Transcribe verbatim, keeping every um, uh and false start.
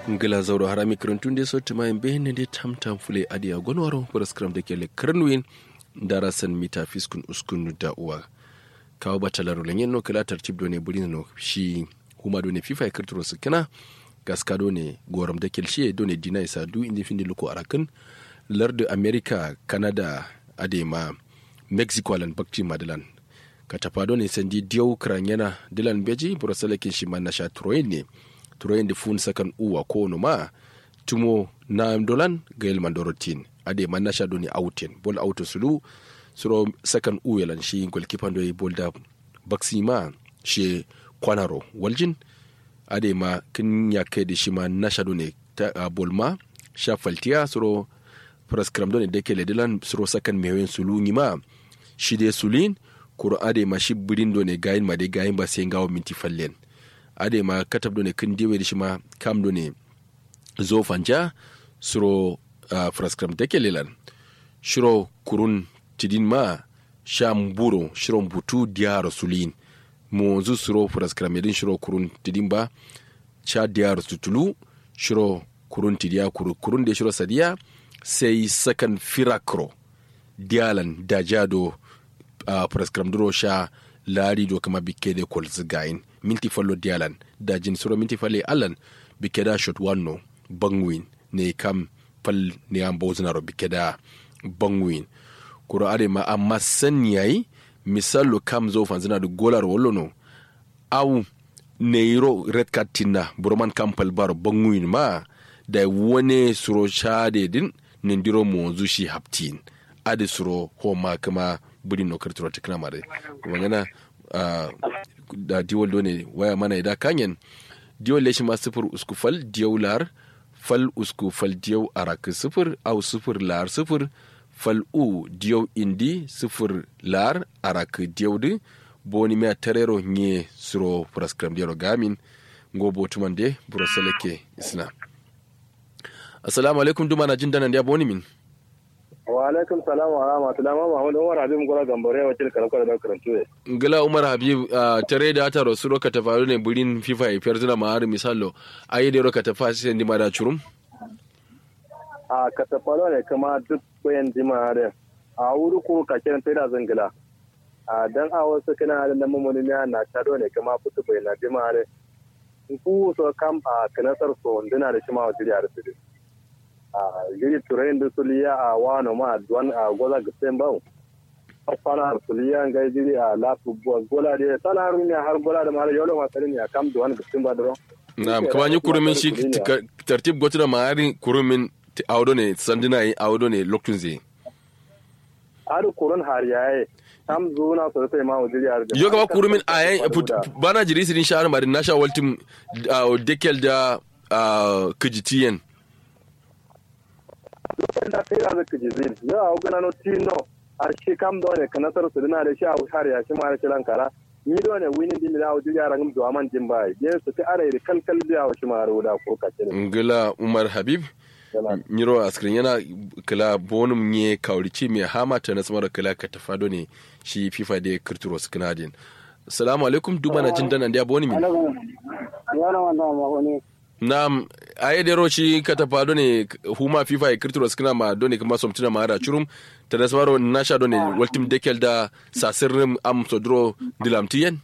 Ngla zauro harami kǝrǝntun de so tǝmayin be nande tamtam fǝle adǝ ya gonwaro fǝraskǝram dake le kǝrǝnwin. Ndara san mita fiskun uskun da uwa. Kawo batalaro lenyen no kǝla tartib done bǝrin no shi huma done fifa ye kǝrtǝro sǝkkǝna. Gaska done gorom dake le shiye done dina isa du indi findi luko arakǝn. Lardǝ amerika, kanada, adai ma mexico alan bakti ma dǝlan. Katafa done sandi diyau kǝranyena dǝlan mbeji burosalakin shima nasha turoyin ne. Turoyin dǝ fun sakan uwa kono ma tumo na dolan gayel mandoro tin. Adai ma nasha done auten bol auto sulu. Suro sakan uwe lan shi golkipan doyi bol da baksi ma she kwanaro waljin. Adai ma kǝn yakke dǝ shima nasha done ta bol ma sha faltiya suro fǝraskǝram done dake le dǝlan suro sakan mewen sulu nyima. Shi de suluyin kuro adai ma shi bǝrin done gayin ma de gayin ba sai ngawo minti fallen. Adai ma katab done kǝn dewe dǝ shima kam done zo fanja suro fǝraskǝram dake le lan. Shiro kurun tidin ma sha mburo shiro mbutu diyaro suluyin. Monzu suro fǝraskǝram yedin shiro kurun tidin ba sha diyaro sutulu. Shiro kurun tidiya kuru kurun de shiro sadiya sai sakan firakro diyalan dajiya do. Fǝraskǝram duro sha lari do kǝma bikke de kolzǝ gayin minti fallo diyalan dajin suro minti falle allan bikke da shot wanno. Bangwin ne kam fal ne am bozǝnaro bikke da bangwin. Kuro adai ma amma sanni yayi misallo kam zo fanzǝna dǝ golaro wallono. Au neyiro red card tinna buroman kam fal baro bangwin ma dai wane suro shade din nindiro monzu shi haptin. Adǝ suro homa kǝma bǝrin no kǝrtǝro tǝkǝna mare. Kuma ngana da diwol done waya mana ida kanyen. Diwol leshi ma sǝfur usku fal diyau lar fal usku fal diyau arakǝ sǝfur au sǝfur lar sǝfur fal u diyau indi sǝfur lar arakǝ diyau dǝ. Boni miya tarero nye suro furaskǝram dero gamin. Ngo botuman de buro salake isna. Assalamu alaikum duma na jin dana ndiya boni min. Wa alaikum salam wa rahmatullah ma mahmud umar habib ngura gambare wakil kalakwa da karantu ye. Ngila umar habib. Tare da ata rosuro katafa ne burin fifa ya fiyar zina ma'ari misallo. Ayi da yaro katafa sai ndi ma da curum. A katafa ne kama duk bayan dima da a wuri kuru kakiran taida zangila. A dan a wasu kina da nan mamuni miya na tado ne kama fitu bai na dima da. Nku so kam a kinasar so ndina da shima wajiri a rufe. A jiri turayin da suliya a wano ma duwan a goza gitsin bau. Fana har suliya ngai jiri a lafu gola da sala har miya har gola da mara yolo ma salin ya kam duwan gitsin ba duro. Na'am kuma ni kurumin shi tartib gotu da ma'arin kurumin. Audo ne sandina yi audo ne loktunze. Adu kurun har yaye. Tam zuna so sai ma wajiri har yo gaba kurumin ayan. Bana jiri sirin shahar madin nasha waltim. Dekel da kijitiyen. Lokacin da sai da zaka ji zin yo a wugana no tino. A shi kam da wani kanasar su dina da shi a har ya shi ma da shi lankara. Ni da wani wini din da wajiri har ngam zuwa man din bai biyan su ta ara da kalkal biya wa shi ma har wuda ko kace. Ngila umar habib. Nyiro askirin yana kila bonum nye kawrici me hama ta nasmar kila ka tafado ne. Shi fifa da kirturo su kinadin. Salamu alaikum duma na jin dana ndiya boni min. Yana wanda ma wani. Na'am. Aye dero shi katafa done huma fifa ya kirturo su kina ma done kuma somtina ma ara curum. Ta nasmaro nasha done waltim dekel da sasirrim am sodro dilamtiyen.